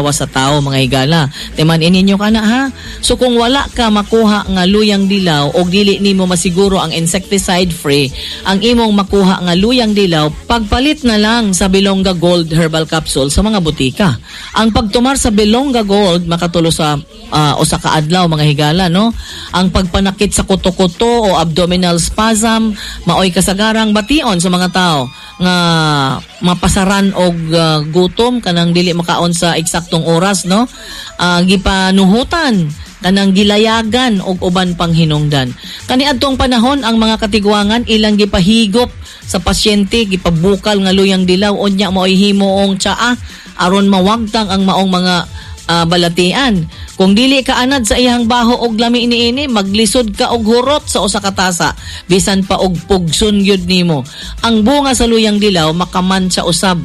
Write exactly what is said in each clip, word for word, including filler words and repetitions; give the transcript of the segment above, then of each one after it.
lawas sa tao, mga higala. Timan ninyo kana, ha. So kung wala ka makuha nga luyang dilaw og dili nimo masiguro ang insecticide free ang imong makuha nga luyang dilaw, pagpalit na lang sa Bilongga Gold Herbal Capsule sa mga butika. Ang pagtumar sa Bilongga Gold makatulo sa uh, usa ka adlaw, mga higala, no. Ang pagpanakit sa kuto-kuto o abdominal spasm maoy kasagarang bation sa mga tao nga mapasaran og uh, gutom, kanang dili makaon sa eksaktong oras, no, uh, gipanuhutan, kanang gilayagan og uban pang hinungdan. Kaniadtong panahon, ang mga katigwangan ilang gipahigop sa pasyente, gipabukal nga luyang dilaw, unya maoy himuong tsaa aron mawagtang ang maong mga uh, balatian. Kung dili ka anad sa iyang baho og lami niini, maglisod ka og hurot sa usa ka tasa, bisan pa og pugson gyud nimo. Ang bunga sa luyang dilaw makamantsa usab,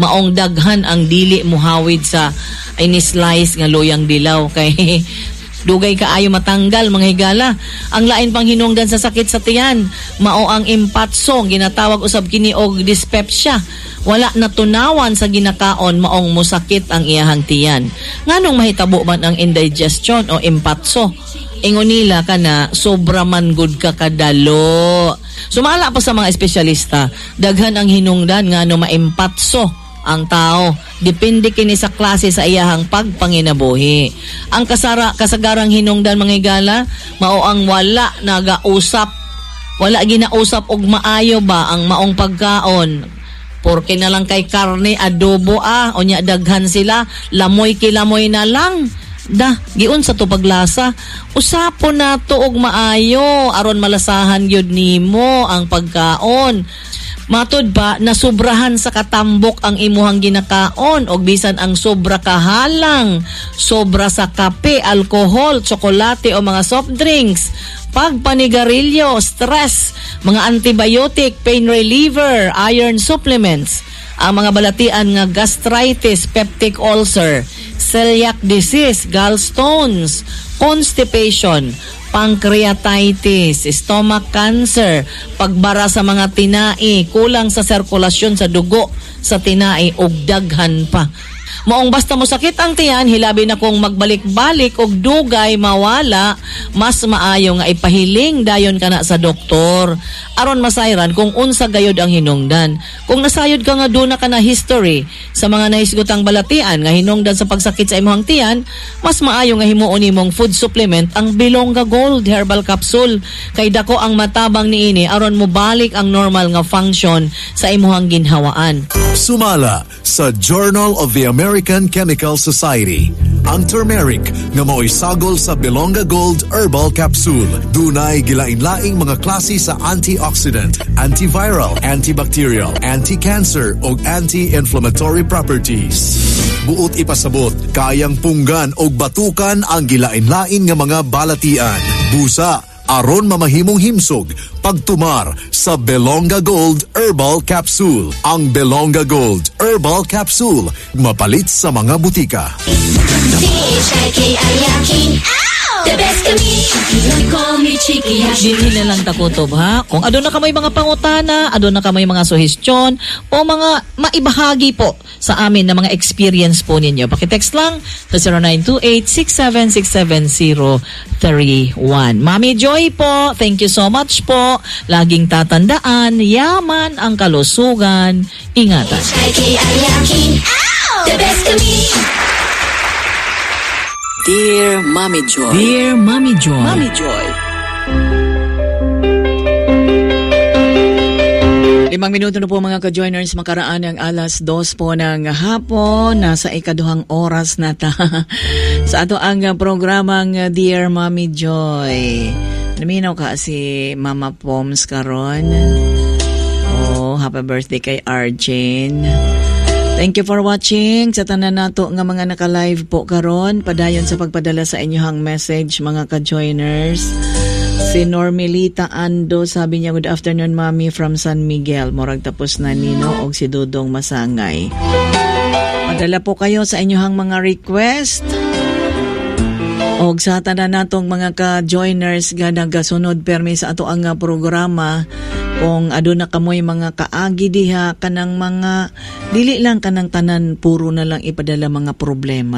maong daghan ang dili muhawid sa ini-slice nga luyang dilaw kay dugay kaayo matanggal, mga higala. Ang lain pang hinungdan sa sakit sa tiyan, mao ang impatso, ginatawag usab kini og dyspepsia. Wala natunawan sa ginakaon, maong musakit ang iyahang tiyan. Nganong mahitabo man ang indigestion o impatso? Ingon nila kana sobra man gud ka kadalo. Sumala pa sa mga espesyalista, daghan ang hinungdan ngano maimpatso ang tao. Depende kini sa klase sa iyahang pagpanginabuhi. Ang kasara kasagarang hinungdan, mga higala, mao ang wala nagausap. Wala ginausap og maayo ba ang maong pagkaon. Porke na lang kay karne, adobo ah, unya daghan sila, lamoy kilamoy na lang. Da, giunsa to paglasa? Usapon nato og maayo aron malasahan gyud nimo ang pagkaon. Matod pa, nasubrahan sa katambok ang imuhang ginakaon og bisan ang sobra kahalang, sobra sa kape, alkohol, tsokolate o mga soft drinks, pagpanigarilyo, stress, mga antibiotic, pain reliever, iron supplements, ang mga balatian nga gastritis, peptic ulcer, celiac disease, gallstones, constipation, pancreatitis, stomach cancer, pagbara sa mga tinai, kulang sa sirkulasyon sa dugo sa tinai ug daghan pa. Maong basta mo sakit ang tiyan, hilabi na kung magbalik-balik og dugay mawala, mas maayo nga ipahiling dayon kana sa doktor aron masayran kung unsa gayod ang hinungdan. Kung nasayod ka nga duna ka na history sa mga nahisgutang balatian nga hinungdan sa pagsakit sa imong tiyan, mas maayo nga himuon nimong food supplement ang Bilongga Gold Herbal Capsule kay dako ang matabang niini aron mobalik ang normal nga function sa imuhang ginhawaan. Sumala sa Journal of the American Chemical Society, ang turmeric nga mao'y sagol sa Bilongga Gold Herbal Capsule dunay gilain-laing mga klase sa antioxidant, antiviral, antibacterial, anti-cancer ug anti-inflammatory properties. Buot ipasabot, kayang punggan og batukan ang gilain-lain nga mga balatian. Busa, aron mamahimong himsog, pagtumar sa Belonga Gold Herbal Capsule. Ang Belonga Gold Herbal Capsule, mapalit sa mga butika. C H I K I Y A K I. The best kami. Call me Chikiyaki. Dinhi na lang takutob, ha. Kung aduna kamoy mga pangutana, aduna kamoy mga suhestyon o mga maibahagi po sa amin na mga experience po ninyo. Pakitext lang sa zero nine two eight, six seven six seven zero three one. Mami Joy po, thank you so much po. Laging tatandaan, yaman ang kalusugan. Ingatan. H I K I Y A K I. The best kami. Dear Mommy Joy. Dear Mommy Joy. Mommy Joy. Limang minuto na po, mga ka-joiners, makaraan ang alas dos po ng hapon. Nasa ikaduhang oras na ta sa ato ang programang Dear Mommy Joy. Naminaw ka si Mama Poms karon. Oh, happy birthday kay Arjun. Thank you for watching sa tanan nato nga mga naka-live po karon. Padayon sa pagpadala sa inyong message, mga ka-joiners. Si Normilita Ando, sabi niya, "Good afternoon, Mami, from San Miguel." Murag tapos na nino og si Dudong Masangay. Padala po kayo sa inyong mga request. Og sa tanan natong mga ka-joiners nga nagasunod permi sa ato ang programa, kung aduna kamoy mga kaagi diha, kanang mga dili lang kanang tanan puro na lang ipadala mga problema.